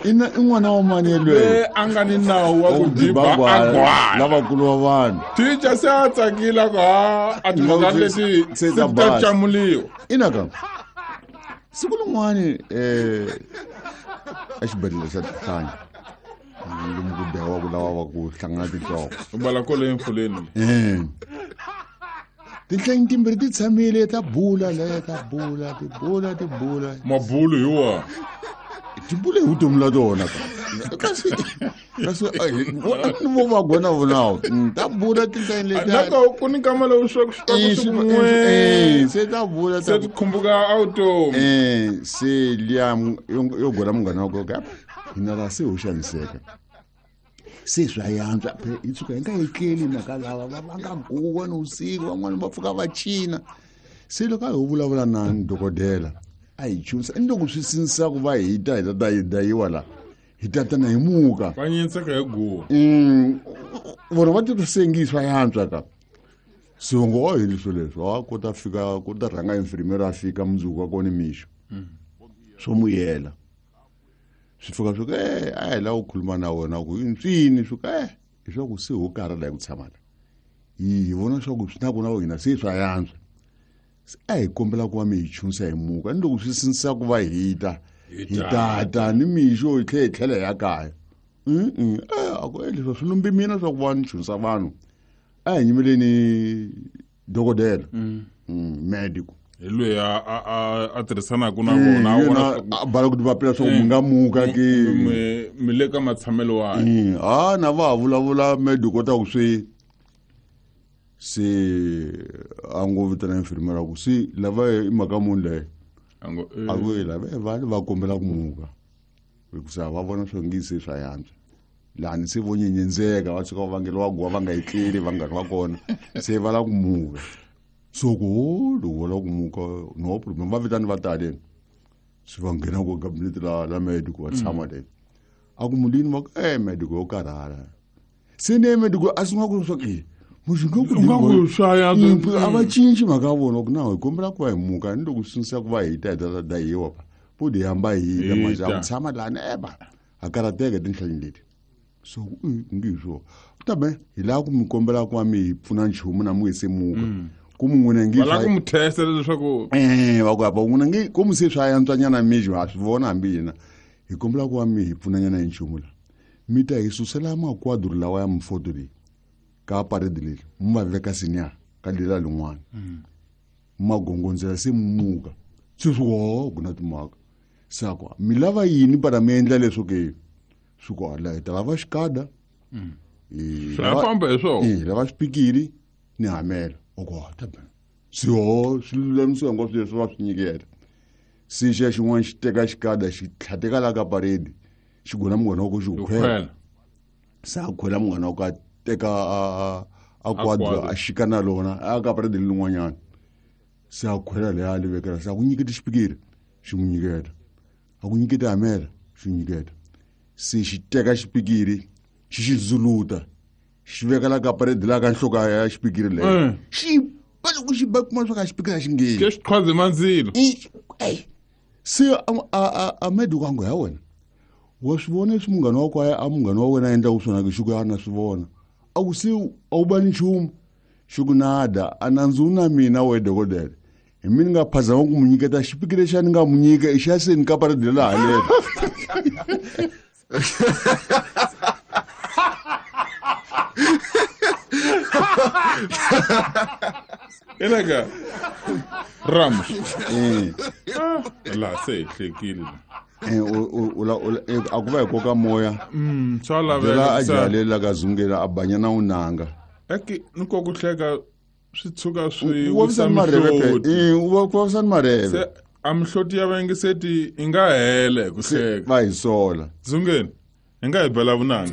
Ina i n'wana wa mani yelweyo Loyi a nga ni nawu wa ku diba a gwala. Lavakulu va vanhu. Teacher se a tsakile a ku ha a timhaka leti Se se ta ti ta basa. camuliwa. Ina ka siku rin'wani exibedhlele xa Tihlanya lomu ku dlayiwaka lava va ku hlangana tinhloko. U bala kolo emfuleni. Tinhlanyi timbirhi ti tshamile ta bula le ta bula ti bula ti bula. Mabulu hi wona. Ti bule hi vutomi la tona ka. Kasi kasi ni vo va gona vonawo. Ta bula tinhlanyi leti. Nako ku ni nkama lowu swa ku swi ku n'we. Se ta bula Se ti khumbuka a vutomi. Se liya yo gona munghana wa koka. Hina la se ho xaniseka. Se swa yantswa phela hi tshuka hi nga etleli mhaka lava va va nga guwa ni vusiku van'wani va pfuka va cina. Se loko a ho vulavula na dokodela a hi chunisa ni loko swi sindzisa ku va hi ta hi ta ta hi dayiwa la hi ta tana hi muka. Va nyinseka hi guwa. Vona va titwa se ngi swa yantswa ka. Se va ngo a hi leswo leswo a ku ta fika ku ta rhanga infirmera a fika mundzuku wa kona mixo. Swo muyela. Swi fika swi ku a hi lava ku khuluma na wena ku i ntswini swi ku hi swa ku se ho karhala hi ku tshama la. Hi vona swa ku swi na ku na hina se swa yantswa. Se a hi kombela ku va mi hi chunisa hi muka ni loko swi sindzisa ku va hi ta hi ta ta ni mixo hi tlhela hi tlhela hi ya kaya. A ku leswi swi lumbi mina swa ku va ni chunisa vanhu. A hi nyimeleni dokodela. Medical. Hi loyi a tirhisanaka na vona, a vona swa ku A bala ku ti vapela swa ku mi nga muka ke. Mi le ka matshamelo wa. Ha na va ha vulavula medical ta ku swi se a ngo vitana infirmera ku se lava i mhaka muni leyi. A ngo, A ku lava va va kombela ku muka. Hikusa va vona swo ngi se swa yantswa. Lani se vo nyenyendzeka va tshuka va vangeliwa guwa va nga etleli vanghana va kona se va lava ku muka. So ku loko va lava ku muka no problem va vitani va tale. Se va nghena ku cabinet la medical va tshama le. A ku mulini va ku medical yo karhala. Se ne medical a sungula ku swa ku muxi nga ku U nga ku swa yantswa. A va cinci mhaka ya vona ku na hi kombela ku va hi muka ni loko swi sindzisa ku va hi ta hi ta dayiwa pa. Po di hamba hi ta Hi manje a ku ta. tshama lani ba a karateka tinhlanyi leti. So ngi hi swona. Kambe hi lava ku mi kombela ku va mi hi pfuna nchumu na mi se muka. Ku mu n'wina ngi Va lava swa ku mi testa leswaku va ku hava n'wina ngi ku mi se swa yantswanyana mixo ha swi vona hambi hina. Hi kombela ku va mi hi pfunanyana hi nchumu la. Mi ta hi susela makwadro lawa ya mifoto leyi ka parade leyi mi va veka senior ka lela lin'wana. Ma gongondzela se mi muka. Se swi wo ku na timhaka. Sakwa mi lava yini para mi endla leswo ke? Swi ku la hi ta lava xikada. Swi nga famba hi swona. Lava xipikiri ni hamela. O ku, ha, ta ba. Se ho, swi lulamisiwa hinkwaswo leswi va swi nyikela. Se xa xin'wana xi teka xikada xi tlhateka la ka parade. Xi gona munghana wa ku xi ku Ku khwela. khwela. Se a khwela munghana wa ku a teka a kwadro, A kwadro. a xika na lona, a ka parade lin'wanyana. Se a khwela leya a li vekela, se a ku nyiketi xipikiri, xi n'wi nyiketa. A ku nyiketi hamela, xi n'wi nyiketa. Se xi teka xipikiri, xi xi zuluta, xi veka la ka parade la ka nhloko ya xipikiri leyo. Xi ba loko xi ba kuma swa ka xipikiri a xi ngheni. Ke xi qhwaze mandzilo. Se a medical a ngo ya wena. Wa swi vona leswi munghana wa kwaya a munghana wa wena a endlaka swona ke xi ku ya na swi vona. A ku se a wu ba nchumu. Xi ku nada, a nandzu wu na mina we dokodela. Hi mina nga phazama ku mu nyiketa xipikiri lexi a ni nga mu nyika i xa se ni ka parade la haleni. Eleka Ramos. La se hi hlekile. A ku va hi koka moya. Swa laveka Byela a ku sa- jahalela ka zungela a banyana u nanga. Eke ni ko ku hleka swi tshuka swi U vavisa wisa ni marheve phela. mihloti. U vavisa ni marheve. Se a mihloti ya vayingiseti yi nga hela hi ku Se hleka. va hi sola. Zungeni, hi nga hi bela vunanga.